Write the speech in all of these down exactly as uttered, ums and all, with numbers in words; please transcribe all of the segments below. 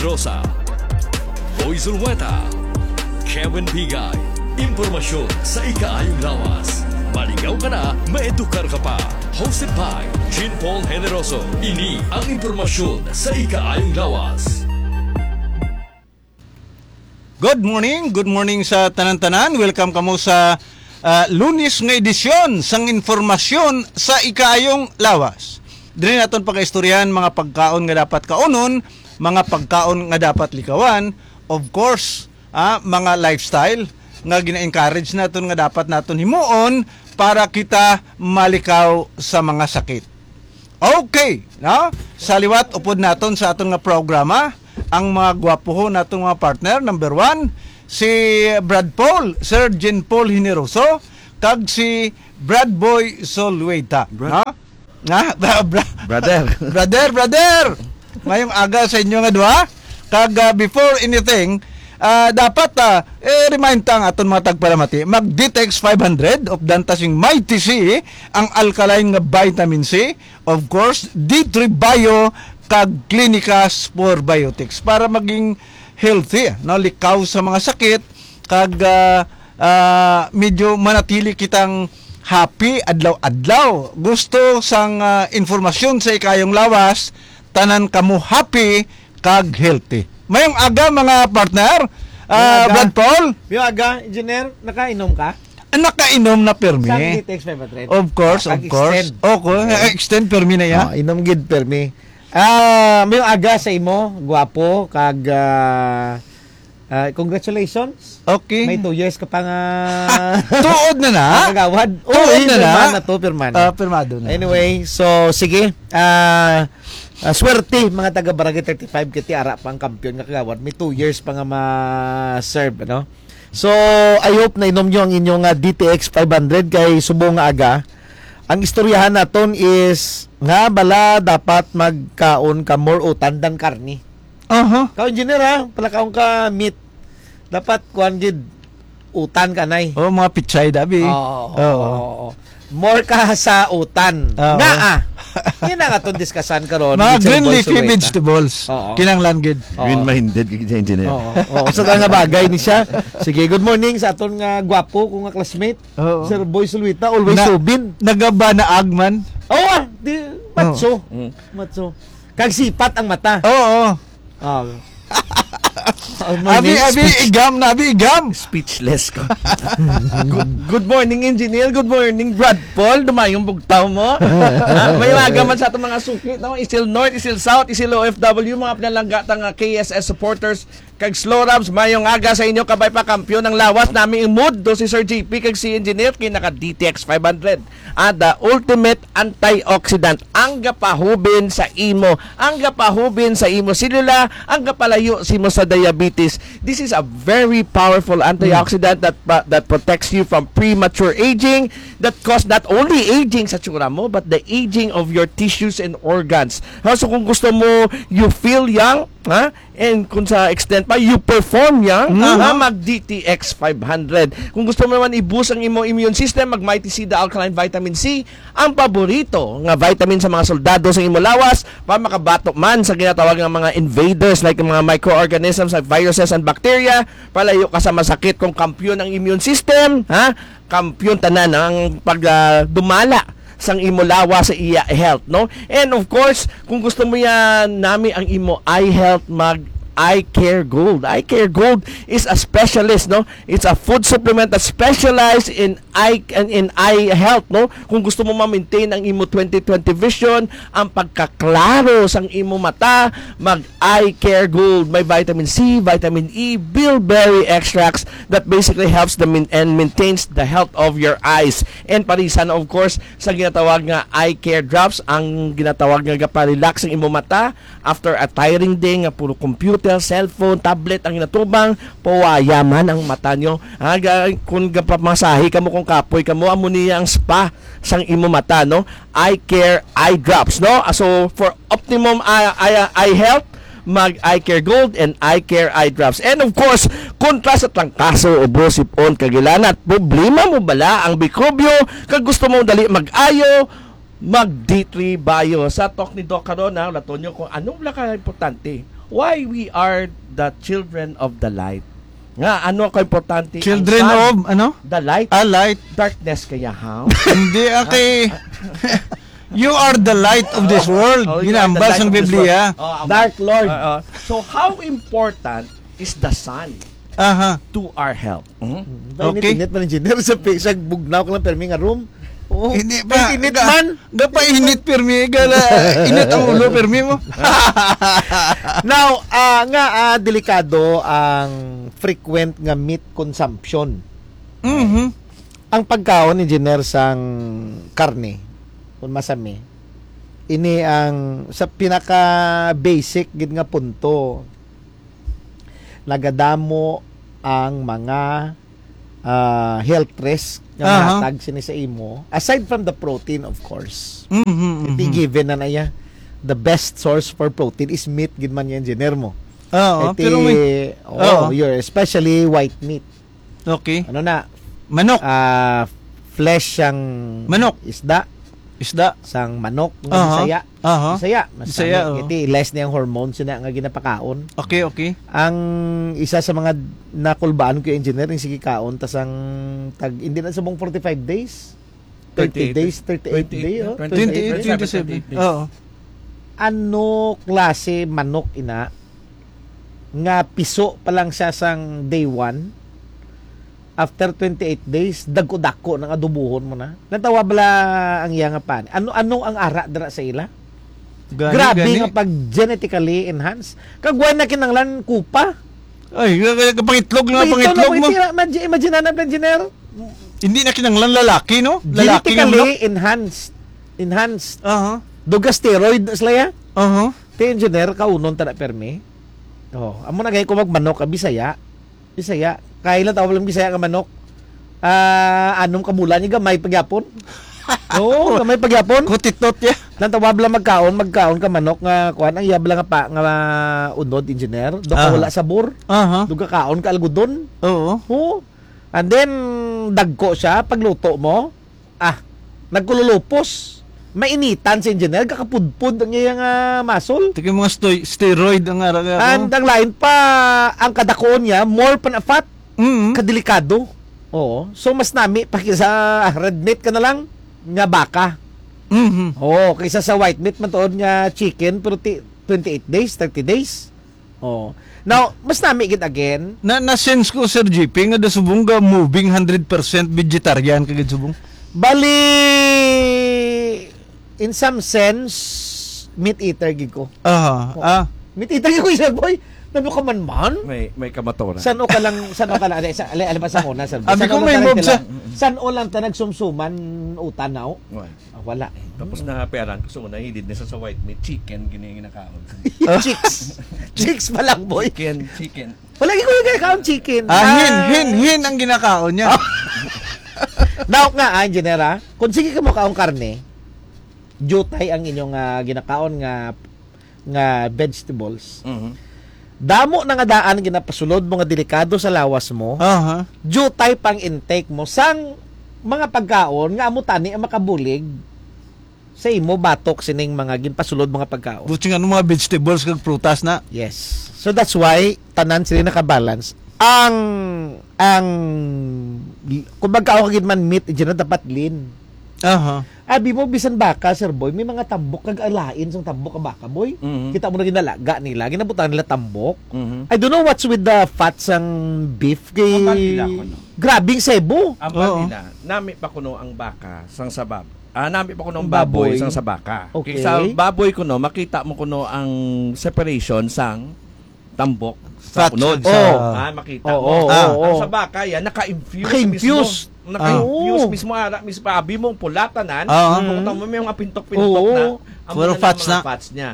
Rosa, Boy Zulueta, Kevin Pigay. Impormasyon sa ikaayong lawas. Maligaw ka na, maedukar ka pa. Hosted by Jean Paul Generoso. Ini ang impormasyon sa ikaayong lawas. Good morning, good morning sa tanan-tanan. Welcome kamo sa ah, Lunes nga edisyon sang informasyon sa ikaayong lawas. Diri naton pagaistoryahan mga pagkaon nga dapat kaunon, mga pagkaon nga dapat likawan, of course, ah, mga lifestyle nga gina-encourage naton nga dapat naton himuon para kita malikaw sa mga sakit. Okay, no? Sa liwat upod naton sa aton nga programa, ang mga gwapuhon naton nga partner, number one, si Brad Paul, Sir Jean Paul Generoso, kag si Brad Boy Zulueta, Brad- no? Na, bra, bra, Brother. brother, brother. Mayong aga sa inyo nga duha. Kag ah, before anything, ah, dapat ah, eh, remind ta ang aton mga tagpalamati. Mag D T X five hundred, updan ta sing Mighty C, ang alkaline nga vitamin C, of course, D three Bio kag Clinicas Probiotics para maging healthy, no, likaw sa mga sakit kag ah, ah, medyo manatili kitang happy adlaw-adlaw. Gusto sang ah, informasyon sa ikayong lawas, tanan kamo happy kag healthy. Mayong aga, mga partner. Ah, Mayong aga. Brad Paul, Yung aga, engineer, nakainom ka? nakainom na pirmi. Sa D T X five hundred? Of course, of course. Pag-extend. Okay, extend pirmi na ya. Ah, inom gid permi. Ah, may aga sa imo, guwapo, kag ah, ah, congratulations. Okay. May two years ka pa nga Tuod na na. Kagawad. Tuod na na. Pirma na to, pirma na. Ah, pirmado na. Anyway, so sige. Ah, ah, swerte mga taga Barangay thirty-five kiti ara pa ang kampiyon nga kagawad. May two years pa nga ma-serve, no? So, I hope na inom nyo ang inyong ah, D T X five hundred kay subong nga aga. Ang istoryahan naton is nga bala dapat magkaon ka more utan than karni. Aha. Ka engineer ha, palakaon ka meat. Dapat kuan gid utan ka nay. Oh, mga pichay dabi. Oo, Oo. oo. More ka sa utan. Oo. Nga ah. Yan ang atong diskasan karon. Mga Gid sa green Boy leafy Suweta. Vegetables. Oo. Kinahanglan gid. Green-minded kay sa engineer. Oo. Oo. Sa nga bagay ni siya. Sige, good morning sa aton nga gwapo ko nga classmate. Oo. Sir Boy Sulwita, always Na- subin. Nagabanaag man. Oo, ah, di, matso. Mm. Matso. Kag sipat ang mata. Oo. Oh. Abi, abi, igam na, abi, igam. Speechless ko. good, good morning, engineer. Good morning, Brad Paul. Dumayong bugtaw mo. Ha? May aga man sa atong mga suki, no? Isil North, Isil South, Isil O F W, mga pinalangga ta nga K S S supporters. Kag Slorabs, mayong aga sa inyo. Kabay pa, kampiyon ang lawas nami ang mood. Do si Sir J P kag si Engineer kay naka D T X five hundred. Ah, the ultimate antioxidant. Ang gapahubin sa imo, ang gapahubin sa imo selula, ang gapalayo sa imo sa diabetes. This is a very powerful antioxidant that pa- that protects you from premature aging, that cause not only aging sa tsura mo, but the aging of your tissues and organs. Ha, so kung gusto mo, you feel young, ha? And kung sa extent pa, you perform young, Mhm. ha? Mag D T X five hundred. Kung gusto mo naman i-boost ang imo immune system, mag Mighty C, the alkaline vitamin C, ang paborito nga vitamin sa mga soldado sa imo lawas, para makabato man sa ginatawag nga mga invaders like mga microorganisms like viruses and bacteria, palayo ka sa masakit. Kung kampiyon ang immune system, ha? Kampiyon tanan ang pag ah, dumala sang imo lawas sa iya health, no? And of course, kung gusto mo yan nami ang imo eye health, mag Eye Care Gold. Eye Care Gold is a specialist, no? It's a food supplement that specializes in eye and in eye health, no? Kung gusto mo ma-maintain ang imo twenty twenty vision, ang pagkaklaro sang imo mata, mag Eye Care Gold. May vitamin C, vitamin E, bilberry extracts that basically helps the min- and maintains the health of your eyes. And parisan, of course, sa ginatawag nga eye care drops, ang ginatawag nga gapa-relax ang imo mata after a tiring day nga puro computer, cellphone, tablet ang ginatubang, pawayaman ang mata nyo. Ha, ga- kung gapamasahe kamo, kung kapoy kamo, amo niya ang spa sang imo mata, no? Eye Care Eye Drops, no? Ah, so, for optimum eye, eye, eye health, mag Eye Care Gold and Eye Care Eye Drops. And of course, kontra sa trangkaso, ubo, sipon, kagilanat, problema mo bala ang mikrobyo, kag gusto mo dali mag-ayo, mag D three Bio. Sa talk ni Doc karon, ha, laton nyo kung anong wala ka importante. why we are the children of the light. Nga, ano ka importante ang Children sun? of, ano? The light. Ah, light. Darkness kaya, how? Hindi, okay. You are the light of this world. Oh, you are the Ginambal light sang of this Biblia. world. Oh, ang Dark Lord. Oo. So, how important is the sun Aha. to our health? Hmm? Ba, Okay. init-init man, engineer, sa pi-, sa bugnaw ka lang, permi nga room. Oo. Hindi pa. Init Ga-, man. gapainit, permi, gala, init ang ulo, permi mo. Now, ah, nga, ah, delikado ang frequent nga meat consumption. Mhm. Ang pagkaon, engineer, sang karne, kung masami, ini ang sa pinaka-basic gid nga punto, nagadamo ang mga, ah, health risk nga Aha. mahatag sini sa imo, aside from the protein, of course. Mhm, Iti mhm. given na na iya, the best source for protein is meat, gid man yan, engineer mo. Oo, Iti, pero may oh, Oo. you're especially white meat. Okay. Ano na? Manok. Ah, flesh sang Manok. isda, Isda. sang manok nga Aha. Bisaya. Aha. Bisaya, mas Bisaya, kami, oo. iti less niyang hormones na nga ginapakaon. Okay, okay. Ang isa sa mga nakulbaan ko, engineer, yung sige kaon, tas ang tag, hindi na subong forty-five days. Thirty Thirty-eight. days, thirty-eight Twenty-eight, day, oh, twenty-eight, twenty-eight. twenty-seven. Oo. Ano klase manok ina nga piso pa lang siya sang day one? After twenty-eight days, dagko-dako nang adobohon mo na. Natawa bala ang iya nga pan. Ano, ano ang ara dira sa ila? Gani, Grabe gani. nga pag genetically enhanced. Kag wala na kinanglan kupa. Ay, kapangitlog na, Ito na pangitlog po, mo. itira, imagine, imagine na, engineer. Hindi na kinanglan lalaki, no? Lalaki nga Genetically manok. enhanced. Enhanced. Aha. Duga steroid na sila ya. Aha. Te, engineer, kaunon ta na permi. Oh, amo na gani ko magmanok, ah, Bisaya. Bisaya. Kailan tawag lang Bisaya nga manok? Ah, anom ka bulan, ni gamay pagyapon. Oo, gamay pagyapon. Kutitot ya. Lang tawag lang magkaon, magkaon ka manok nga kuan, ang yab lang nga pa, nga unod, engineer. Do ka Aha. wala sabor. Aha. Do ka kaon ka algodon. Oo. Oo. And then, dagko siya, pagluto mo, ah, nagkululupos. Mainitan si engineer, kakapudpod ang iyang, ah, muscle. Ito yung mga stoi-, steroid ang ara-, ara-, And ang lain pa, ang kadakuon niya, more pa na fat, Mm. kadelikado. Oo. So, mas nami pa kisa, ah, red meat ka na lang, nga baka. Mhm. Oo, kaysa sa white meat, matuod nga chicken, pero ti-, twenty-eight days, thirty days. Oh. Now, mas nami gid again. Na, na-sense ko, Sir G P, nga dasubong ga moving hundred percent vegetarian ka gid subong. Bali, in some sense, meat eater gid ko. Aha. Oh. Ah. Meat eater gid ko, Sir Boy. Ano ka man man? May, may kamaturan. San-o ka lang, san-o ka lang, ali, sa, ali, ali ba sa una, Sir Boy? Abi San-o ko lang may ta mob sa nagtila-, san-o lang ta nagsumsuman utan, no? Why? Ah, wala. Tapos na peran ko sa una, hilid na sa, sa white meat, chicken, gini ginakaon. Chicks. Chicks pa lang, boy. Chicken, chicken. Wala, ikaw yung ginakaon chicken. Ah, hin, Ah. hin, hin ang ginakaon niya. Daot nga, ah, engineer, ah. Kung sige ka mo kaon karne, jutay ang inyong, ah, ginakaon nga, nga vegetables. Mhm. Damo na nga daan ginapasulod mo nga delikado sa lawas mo. Aha. Jutay pang intake mo sang mga pagkaon nga amo tani ang makabulig sa imo batok sining mga ginpasulod mga pagkaon. Buti nga, ano, mga vegetables kag prutas na. Yes. So that's why tanan sila nakabalance. Ang, ang, kung magkaon ka gid man meat, dyan na dapat lean. Aha. Abi mo, bisan baka, Sir Boy, may mga tambok kag alain sang tambok ang baka, boy. Mhm. Kita mo na ginalaga nila, ginabutang nila tambok. Mhm. I don't know what's with the fat sang beef kay Ang bali nila, kuno. Grabing sebo. Ang Oo. bali na, nami pa kuno ang baka sang sabab. Ah, nami pa kuno ang Ang baboy baboy. sang sa baka. Okay. Kay sa baboy kuno, makita mo kuno ang separation sang tambok sa Fat unod. sa Oh. Ah, makita Oo, mo. oo, Ah. oo. Ang sa baka, yan, naka-infuse Naka-infuse. mismo. Naka-infuse Ah. mismo, ara, mismo, abi mo, pula tanan. Ah. Kung tamo, may mga pintok-pintok Oo. na. Ang Puro mga fats mga na. fats niya.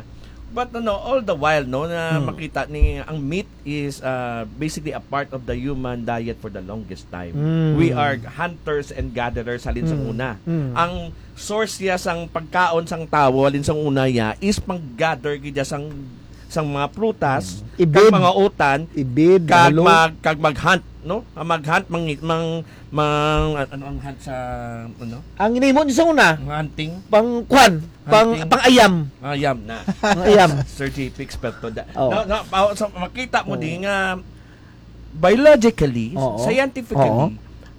But, ano, all the while, no, na Hmm. makita ni, ang meat is, uh, basically a part of the human diet for the longest time. Hmm. We are hunters and gatherers halin sa Hmm. una. Hmm. Ang source niya sang pagkaon sang tawo halin sa una niya is pag-gather gid niya sang sang mga prutas, Mm. kag Ibid. mga utan, Ibid, kag halo. mag-, kag mag-hunt, no? Ah, mag-hunt, mang-, mang-, mang-, ano ang hunt sa, ano? Ang ginahimo niyo sa una, Ang hunting? pang kwan, pang, Hunting? pang ayam. Ayam na. Pang ayam. Sir J P, eksperto da. Oh. Na, na, pa-, sa, makita mo Oh. di nga, biologically, Oo. scientifically, Oo.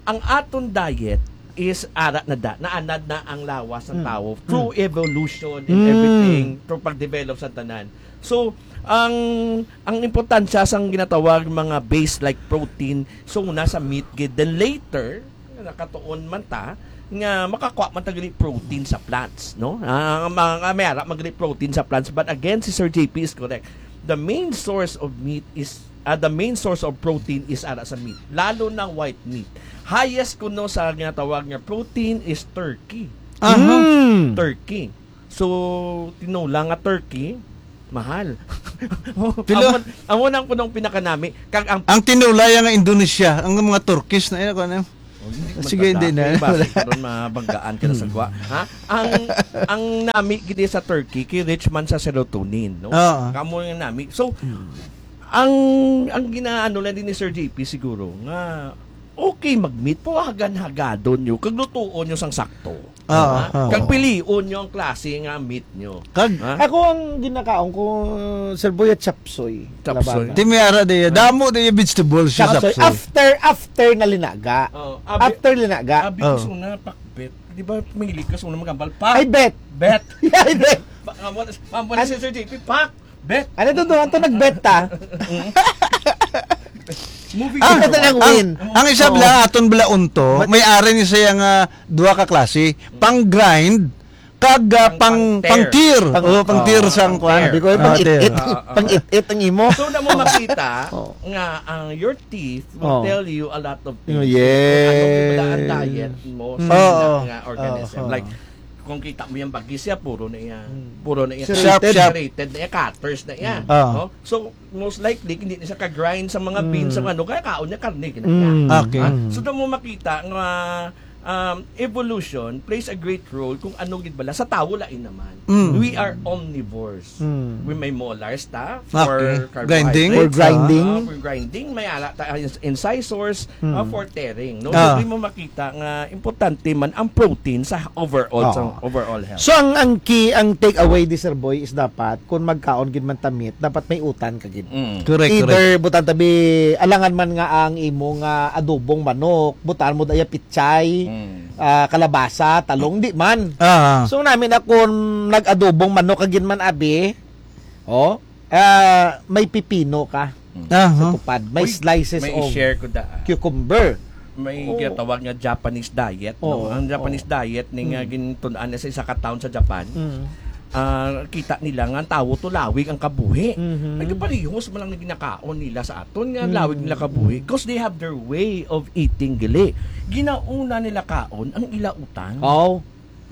ang aton diet is ara na da, naanad na ang lawas ng Mm. tao through Mm. evolution and Mm. everything, through pag-develop sa tanan. So, ang, ang importansya sang ginatawag mga base like protein, so, nasa meat gid. Then later, nakatuon man ta, nga makakuha man ta gani protein sa plants, no? Ah, ang mga, may ara man gani protein sa plants, but again, si Sir J P is correct. The main source of meat is, ah, the main source of protein is ara sa meat, lalo na white meat. Highest kuno sa ginatawag nga protein is turkey. Aha. Mm. Turkey. So, tinola nga turkey, mahal. Tilo- Amo, amo nang punong pinakanami. Kag ang Ang tinulaya nga Indonesia, ang mga Turkish na, eh, ano? Oh, hindi Sige, maganda. Hindi na. Kaya basi karon mabanggaan ka na sa Hmm. gwa. Ha? Ang, ang nami gid sa turkey, kay rich man sa serotonin, no? Oo. Kamo yung nami. So, Hmm. ang, ang ginaano lang din ni Sir J P siguro, nga okay mag-meat, pero hagan-hagadon nyo, kag lutuon nyo sang sakto. Oo, Ha? oo. Kag pilion nyo ang klase nga meat nyo. Kag Ha? Ako ang ginakaon ko, Sir Boy, at chapsoy. Chapsoy. Labana. Di may ara di, damo di vegetables sa Chapsoy. chapsoy. After, after na linaga. Oh, abi-, After linaga. Abi, Oh. gusto na pakbet. Di ba, mahilig ka sa una magambal? Pak! Ay, bet. Bet. Ay, bet. Ba-, amo na, amo na An- si Sir J P, pak! Bet. Ano to, to? Ito nag-bet ta? Moving Ah, Ito forward. na ang ang, win. ang isa Oo. bala, aton bala unto, But may ari ni siya nga duha ka klase, pang grind, kag, ah, Pang, pang, pang pang tear. tear. Pang, Oh, pang tear oh, sang pang kwan. tear. Sabi ko, eh, Ah, pang tear. it-it. Ah, ah, ah. Pang it-it ang imo. So, na mo makita Oh. nga ang your teeth will Oh. tell you a lot of Oh, things. Kung ano yes. yung ang diet mo sa Mm. Oo. nga organism. Oo. Like, kung kita mo yung bagis siya, puro na iya. Mm. Puro na iya. Serrated. Sharp, sharp. Serrated na iya, cutters na iya. Mm. Oo. No? So, most likely, hindi na siya ka-grind sa mga beans, Mm. sa ano, kaya kaon niya karne, gina niya. Mm. Okay. Ha? Mm. So, doon mo makita nga, um, evolution plays a great role kung ano gid bala. Sa tawo, lain naman. Mm. We are omnivores. Mm. We may molars ta for Okay. carbohydrates. Grinding? For grinding? Ah, for grinding, may ara ta, ins-, incisors, Mm. ah, for tearing, no? Ah. So, di mo makita nga importante man ang protein sa overall, sa Oo. overall health. So, ang, ang key, ang take away di, Sir Boy, is dapat, kung magkaon gid man ta meat, dapat may utan ka gid. Mm. Correct, Either correct. butang tabi, alangan man nga ang imo nga adobong manok, butaan mo daya pichay, Mm. ah, kalabasa, talong, di man. Ah. So, namin ako nag-adobong manok, kagin man, abi, oh, ah, may pipino ka Mm. Aha. sa tupad. May Uy, slices may of i-share ko da, ah. cucumber. May Oo. ginatawag nga Japanese diet, no? Oo. Ang Japanese Oo. diet ni nga Mm. gintun-an na sa isa ka town sa Japan, Mm. ah, kita nila nga ang tawo to lawig ang kabuhi. Mhm. Nagkaparehos man lang na ginakaon nila sa aton nga Mm. lawig nila kabuhi. 'Cause they have their way of eating, gali. Ginauna nila kaon ang ila utan. Oh.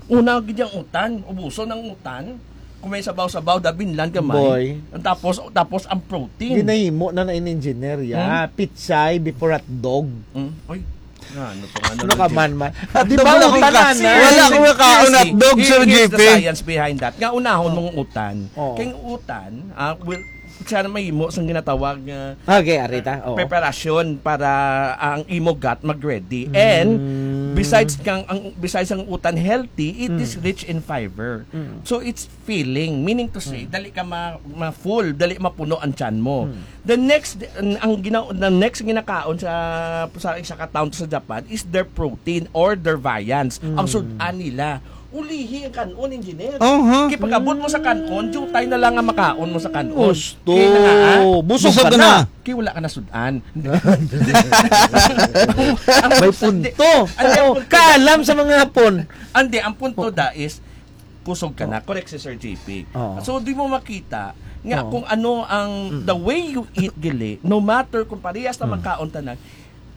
Una gid ang utan, ubuson ang utan. Kung may sabaw-sabaw, dabinlan gamay. Boy. Ang tapos, tapos ang protein. Ginahimo na na in engineer, ya. Hmm? Pitsay before hotdog. Hmm? Oy, nga, ano pa nga Ano na ka man, man? Di Hotdog ba, wala akong utan ka-, na? wala akong makaon Here's the, hotdog, Sir here's the J P. science behind that. Nga unahon Oh. mong utan. Oh. Kay ang utan, ah, will, siya na mahimo sang ginatawag nga Okay, arita. Oo. preparasyon para ang imo gut mag-ready. And Mm. besides kang, ang, besides ang utan healthy, it is Mm. rich in fiber. Mm. So it's filling, meaning to say, Mm. dali ka ma-, ma-full, dali mapuno ang tiyan mo. Mm. The next, ang, ang gina-, the next ginakaon sa, sa isa ka town sa Japan is their protein or their viands. Ang Mm. sud-an nila. Ulihi ang kanon, engineer. Oh, ha? Kay pag-abot mo sa kanon, jutay na lang ang makaon mo sa kanon. Gusto. Kay na, ah, Busog Busog ka ka na. na. Kay wala ka na sud-an. Ang May punto. Andi, ang Oo, punto kaalam sa mga Hapon. Andi, ang punto Oh. da is, kusog ka na. Correct si Sir J P. Oo. So, di mo makita nga Oo. kung ano ang, Mm. the way you eat, gali, no matter kung parehas na Mm. magkaon tanan,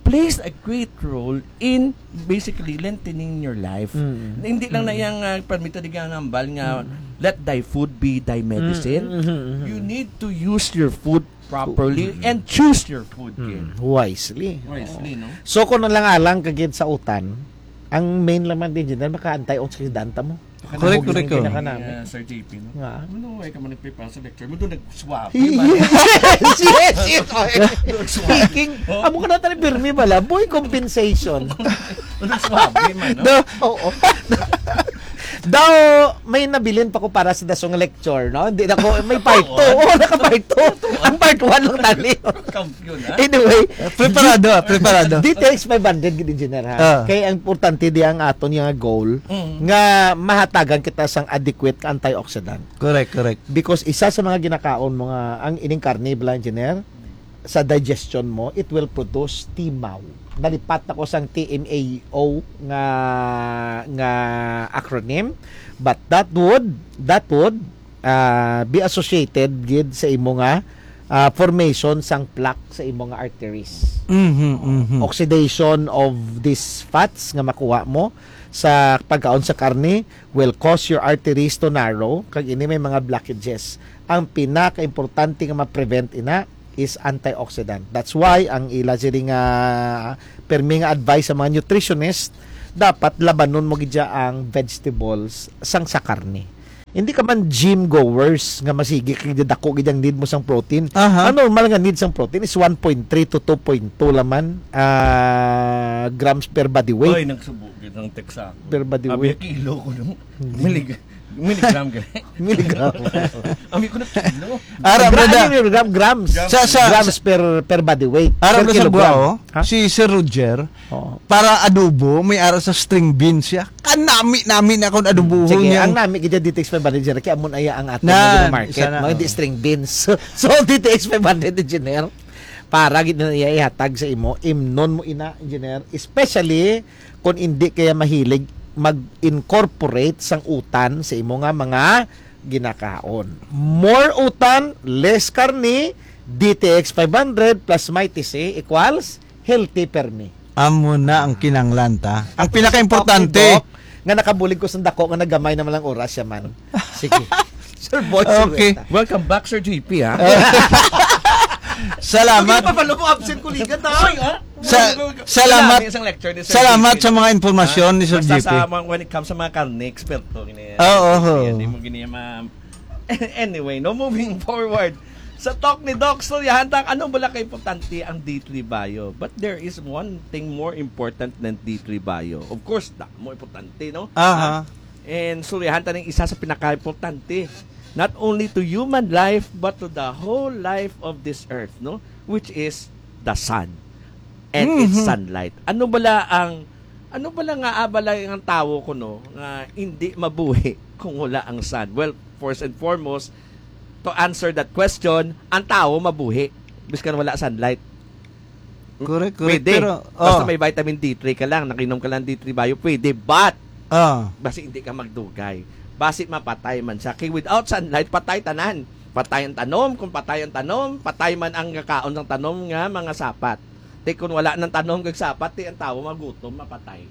plays a great role in basically lengthening your life. Mm. Hindi lang na Mm. yang, ah, permito di ka nambal nga, Mm. "Let thy food be thy medicine." Mm, mm, mm, mm. You need to use your food properly Mm. and choose your food, Mm. kid. Wisely. Wisely, Oo. no? So, kung alang-alang ka gid sa utan, Ang main lang man din, General, maka-antioxidant mo. Correct, correct, correct. Ang pinaka namin. Ah, Sir J P, no? Nga. Ano, ay ka man nagpipasa sa lecture mo, doon nagsuwabe man. Yes, yes, yes. Okay. Nagsuwabe. Speaking, Oh. amo ka na tayo, pirmi bala. Boy, compensation. Nagsuwabe man, no? Do, oo. Daw, may nabilin pa ko para sa dasong lecture, no? Hindi na ko, may part Oo. two. Oo, naka-part two. Ang part one lang tali. Kampiyon, ha? Anyway, Preparado, ah, preparado. D T X five hundred, gid, Engineer, ha? Ah. Kaya ang importante di ang aton nga goal Mm. nga mahatagan kita sang adequate ka antioxidant. Correct, correct. Because isa sa mga ginakaon mo nga ang ining karne bala, Engineer, sa digestion mo, it will produce timaw. Nalipat ako sang T M A O nga, nga acronym, but that would, that would, ah, be associated gid sa imo nga, ah, formation sang plaque sa imo nga arteries. Mhm, mhm. Oxidation of these fats nga makuha mo sa pagkaon sa karne will cause your arteries to narrow, kag ini may mga blockages. Ang pinakaimportante nga ma-prevent ina is antioxidant. That's why ang ila sini nga permi nga advice sa mga nutritionist, dapat labanon mo gid siya ang vegetables sang sa karne. Hindi ka man gym goers nga masigi kay dako gid ang need mo sang protein. Aha. Ang normal nga need sang protein is one point three to two point two laman, ah, grams per body weight. Oy, nagsubo gid ang text sa ako. Per body Abi, weight. Kilo ko, no? Milig-, miligram gali. Miligram. Ami ko na kilo. Ara, Gra-, brother. Ano yung gram? Grams. Sa, sa, Grams sa per, per body weight. Ara, Per brother, sa kilogram. Guwao, Ha? si Sir Roger, Oo. para adobo, may ara sa string beans siya. Kanami-nami na akong adobohon Sige, niya. ang nami gid D T X five hundred, kaya amon aya ang aton Nan, nga market, isa na, mga di oo. string beans. So, D T X five hundred, Engineer, para gid na iya ihatag sa imo, imnon mo ina, Engineer, especially kung hindi kaya mahilig mag-incorporate sang utan sa imo nga mga ginakaon. More utan, less karni, D T X five hundred plus Mighty C equals healthy permi. Amo na ang kinanglan ta. Ang Tapos pinakaimportante. Talk ni Doc, nga nakabulig ko sa dako nga nagamay naman lang oras siya man. Sige. Sir Boy Okay. Silueta. Welcome back, Sir J P, ha? Salamat. Hindi pa pala mo absent, kuligan, ta. Oy, ha? Sa-, Ano, salamat, Ang dami isang lecture ni Sir salamat J P, sa no? mga impormasyon Ha? ni Sir Basta J P. sa mga, when it comes sa mga karne, eksperto, gini, Ah, oo. Hindi mo gini ma-, anyway, no, moving forward. Sa talk ni Doc Suryahan, ta, ano bala ka importante ang D three Bio? But there is one thing more important than D three Bio. Of course, da, mo importante, no? Aha. Ah, and Suryahan, ta, ning isa sa pinakaimportante, not only to human life, but to the whole life of this earth, no? Which is the sun and its Mhm. sunlight. Ano bala ang, ano bala nga abala ang tawo kuno nga hindi mabuhi kung wala ang sun? Well, first and foremost, to answer that question, ang tawo mabuhi biskan wala sunlight. Correct, correct. Pwede. Pero, Basta oh. may vitamin D three ka lang, nakinom ka lang D three Bio, pwede. But, Ah. basi hindi ka magdugay. Basi mapatay man siya. Kay without sunlight, patay tanan. Patay ang tanom. Kung patay ang tanom, patay man ang kaon ng tanom nga mga sapat. Ti kung wala nang tanom kag sapat, ti ang tawo magutom, mapatay.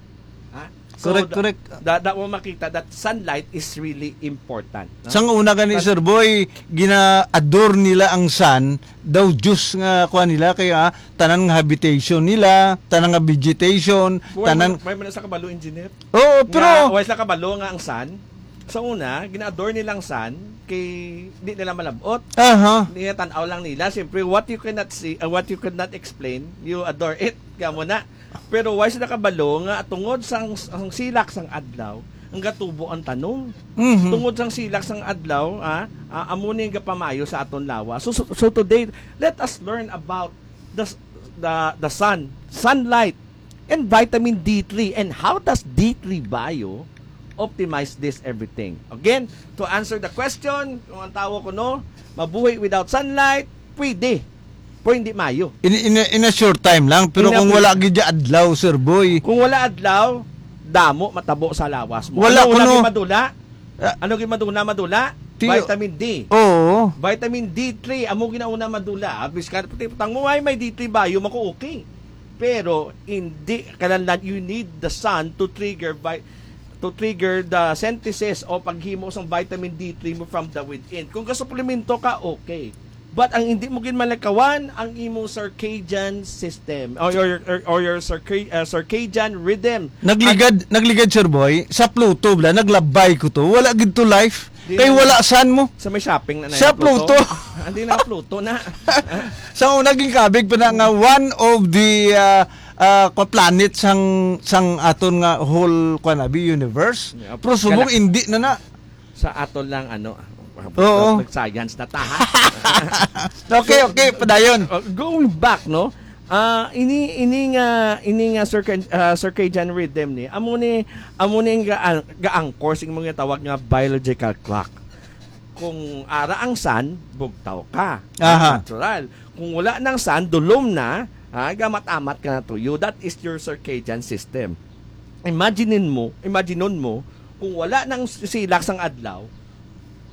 Ha? So, Correct, da-, correct. da-, da mo makita that sunlight is really important, no? Sang una gani, But Sir Boy, gina-adore nila ang sun, daw Diyos nga kuha nila, kaya tanan nga habitation nila, tanan nga vegetation, Why tanan man, why man sa kabalo, engineer? Oo, pero Nga, why sa kabalo nga ang sun? Sa una, gina-adore nila ang sun, kay di nila malabot. Aha. Niya tan-aw lang nila. Siyempre, what you cannot see, uh, what you could not explain, you adore it. Kaya mo na. Pero why sila kabalo nga tungod sang, sang silak sang adlaw, ang gatubo ang tanom. Mhm. Tungod sang silak sang adlaw, ah, ah, amo ni ang gapamayo sa aton lawas. So, so, so today, let us learn about the s-, the, the sun, sunlight, and vitamin D three. And how does D three Bio optimize this everything? Again, to answer the question, kung ang tawo kuno mabuhi without sunlight, pwede. Pero hindi mayo. In, in, in a short time lang, pero In a kung few wala gid siya adlaw, Sir Boy. Kung wala adlaw, damo matabo sa lawas mo. Wala Ano una kuno. gid madula? Ah. Ano gid madula, madula? Ti- Vitamin D. Oo. Vitamin D three, amo ginauna madula. Ah, biskan pati putang mo, ay may D three Bio, mako okay. Pero hindi, kailangan you need the sun to trigger vi-, to trigger the synthesis o paghimo sang vitamin D three mo from the within. Kung gasuplemento ka, okay. But ang hindi mo gid malakawan, ang imo circadian system or your or, or your circa- uh, circadian rhythm. Nagligad, nagligad, Sir Boy, sa Pluto bla, naglabay ko to. Wala gid to life. Di Kay na- wala sun mo. Sa may shopping na na Sa yung Pluto. Pluto. Hindi na Pluto na. Sa una, naging kabig pa na nga one of the uh, uh, kwa planet sang sang aton nga whole kwa na bi universe. Yeah. Pero subong Gala- hindi na na. Sa ato lang, ano, Oo. Nag-science na ta, ha? Okay, okay, padayon. Uh, going back, no? Ah, ini ini nga ini nga circa- ah, circadian rhythm ni amo ni amo ni ang ga- ga-anchor sa mga tawag nga biological clock. Kung ara ang sun, bugtaw ka. Aha. Natural. Kung wala nang sun, dulom na, ha, gamat-amat ka na tuyo. That is your circadian system. Imagine mo, imaginon mo kung wala nang silak sang adlaw,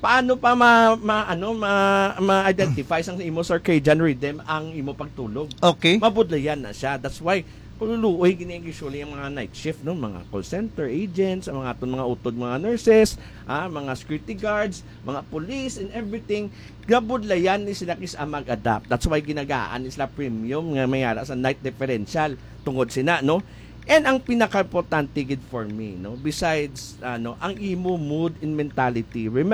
paano pa ma, ma ano ma, ma-identify sang imo circadian rhythm ang imo pagtulog? Okay. Mabudlayan na siya. That's why kung luluoy gini ang usually ang mga night shift, no, mga call center agents, ang mga aton mga utod, mga nurses, ah, mga security guards, mga police and everything, gabudlayan ni sila kis mag-adapt. That's why ginagaan ni sila premium nga may ara sa night differential tungod sina, no? And ang pinakaimportante gid for me, no, besides ano ang imo mood and mentality, remember